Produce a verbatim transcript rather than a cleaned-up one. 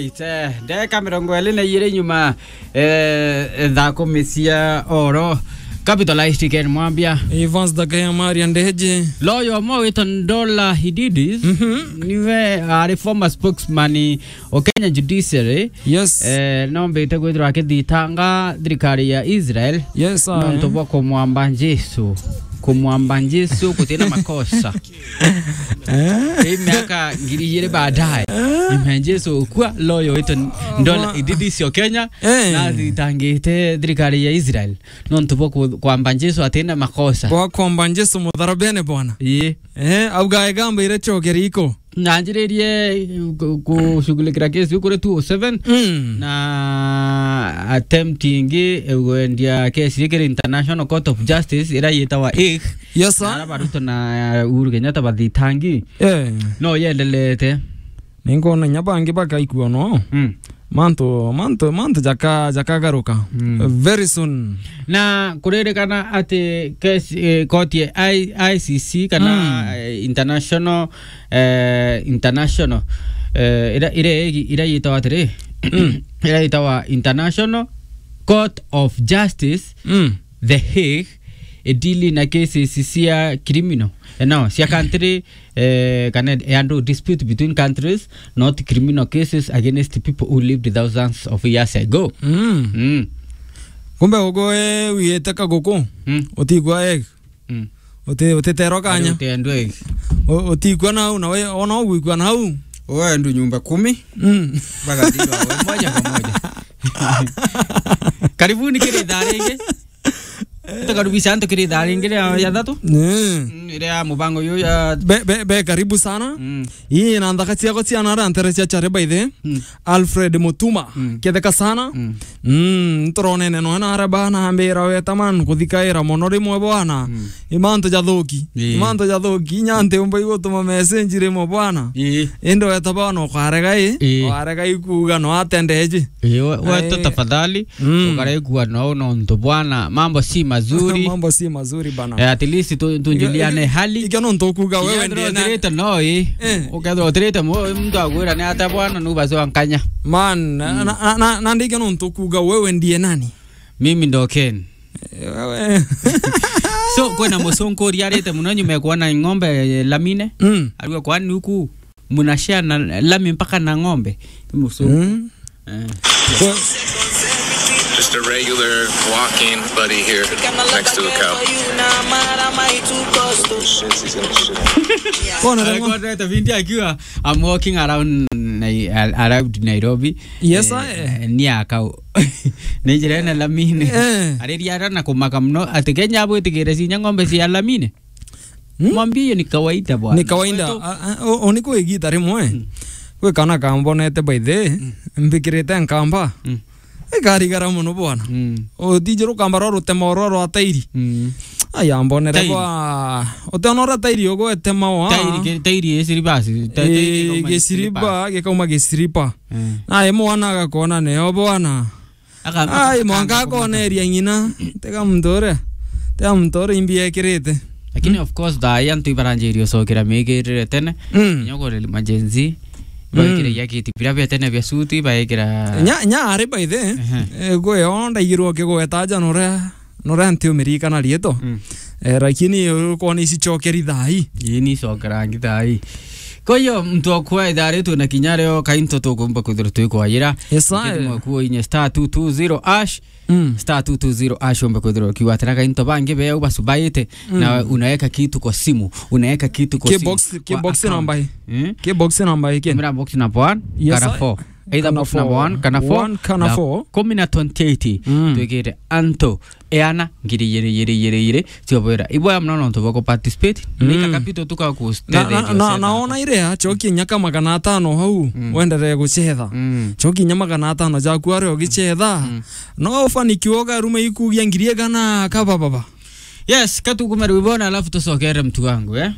Ite, ndeka mirongo iri na iri nyuma, eh, thaa kumi cia oro. Capitalized Ken Mwambia. Evans Dakaya Maria Ndeje. Lawyer umwe witwa Ndola Hididis. Mhm. Niwe ari former spokesman o Kenya Judiciary. Yes. Eh, nombite kwithirwa akithitanga thirikari ya Israel. Yes, sir. Nontu bwa kumwamba Jesu. Kumwamba Jesu gutina makosa. Eh? Ii miaka ngiri igiri baadaye, nyuma ya Jesu gukua, lawyer witwa Ndola Ididis o Kenya, eh, nathitangite thirikari ya Israel nontu bwa ku-, kwamba Jesu atina makosa. Bwa kwamba Jesu mutharabene, bwana. Ii. Eh, auga egamba ire chokeri iko. Nanjiririe ku-, kushughulikira kesi iu kuri two oh seven, mm, na attempt ingi igwendia kesi ikiri International Court of Justice, ira yitawa Hague. Yes, sir. Na ara Baruto na Uhuru Kenyatta bathitangi. Eh. No yendelete. Ningona nya bangi bakaikua no. Mm. Mantu, mantu, mantu jaka-, jakagaruka. Mm. Very soon. Na kuririkana ati kesi, eh, koti ya I-, I C C kana, mm, eh, international, eh, international, eh, ira, ira, ira yitawa atiri? Mm. Ira yitawa International Court of Justice, mm, The Hague, idili na cases cia criminal, eh, no, cia country, eh, kana ya andu, dispute between countries, not criminal cases against people who lived thousands of years ago. Mm. Mm. Kumbe ugo, eh, wiyete kaguku, mm, utigwa, eh, mm, uti-, utiterwa kanya. Ari utendwa Hague. U-, utigwa na u, na we, ona ugwikwa na u. Uwe andu nyumba kumi. Mm. Bagathirwa we moja kwa moja. Karibuni kiri thaa ringi. Tukaribisha antu kiri thaa ringi ria, ya thatu. Mm. Mm, iria ya mubango uyu ya be, be, be, karibu sana. Mm. Ii na nthaka ciakwa cia nara ntere cia chare by the. Mm. Alfred Mutuma. Mm. Ketheka sana. Mm. Mm, nturonene noe nara bana ambira weta man kuthikaira mono rimwe bwana. Mm. Imantu jathuki. Ii. Imantu jathuki. Inya nti umba igutuma message rimwe bwana. Ii. Indi weta bwana ukarega i. Ii. Ukarega ikuga no atendeji. Ii, we-, wetu ai, tafadhali. Mm. Ukaraigua no nontu bwana, mambo si mazuri. Mambo si mazuri bana. Eh, at least tu-, tunjuliane hali. Iga nontu ukuga wewe ndiye na utirite no i. Eh. Ukethirwa utirite mu-, muntu agwira ni ata bwana, nu basi wa nkanya. Man, na, mm, na, na, na, na ndiga nontu ukuga wewe ndiye nani? Mimi ndo Ken. Eh, wewe. So, kwina mucunkuria arite muno nyuma ya kuona ng'ombe, eh, lamine. Mm. Arua kwani huku mnashare na lami mpaka na ng'ombe? Mucunku. Mm. Eh. Just a regular walking buddy here next to a cow. Kona remo. Alikuwa anaita binti akiwa, I'm walking around Nai-, al-, around Nairobi. Yes, eh, I, eh, ni a cow. Ni njira ina lamine. Eh. Ariria ara na kumaka muno ati Kenya abwitikire cinya ng'ombe cia lamine. Hmm? Mwambie hiyo ni kawaida bwana. Ni kawaida. Kwetu. A, a, o, o, ni kwi igita rimwe. Mm. Kwi kana kambonete by the, mm, mbikirite nkamba. Mm. Ikarigara muno bwana. Mm. Utiji rukamba rwa rutema rwa rwa tairi. Mm. Ai, ambonere tairi. Bwa, utiona uria tairi ugwetema wa. Tairi, ke-, tairi i siribasi. Ta-, tairi, eh, ikauma gisiriba, slippers. Gikauma gisiriba. Mm. Na imwana agakona neo bwana. Aka-, ai, aka-, mwanka aka-, akoneria ng'ina. Tega muntu uria. Tega muntu uria imbi ekirite. Lakini, mm, of course, thaa ii antu ibaranjiria ucokera miikirire tene. Mm. Kinya kuri ma Gen Z, mm, baikira iakiti biria bia tene bia suti, baikira nya, nya ari by the, ehe, eh, gwe yo ndaigirwo kigweta aja nuria, nuria nti umirikana rieto. Mm. Eh, lakini ukwona ici chokeri thaa ii. Ii ni cokerangi thaa ii. Kwa hiyo, mtu akwa ithaa ri twina kinya rio kainto tukumba kwithirwa twikwayira. Yes, sir. Ukithimwa kuo inye star two two zero hash. Mm. Star two two zero hash umbe kwithirwa ukiuga atira kainto bangi beu basubaite, mm, na unaweka kitu kwa simu, unaweka kitu kwa simu. Ki box, ki box number i? Hmm? Ki box number i, Ken? Tumira box number one, yes, kana sir, four. Either kana box number four, one, kana four, one, kana four. Kumi na twenty-eight. Mm. Twikite anto eana ngiri igiri, igiri, igiri, igiri, ciobwira. Iboya muno nontu bwa ku participate. Mm. Ni ka capital tu ka ku na, na, na, na ona ire ya, choki nyaka magana atano hau, mm, wenderee gucetha. Mm. Choki nya magana atano jaku aria ugicetha. Mm. No ufanikiwa ukaruma ikugia ngiri igana kaba baba. Yes, katukume rwibona, alafu tucokere mtu wangu, eh?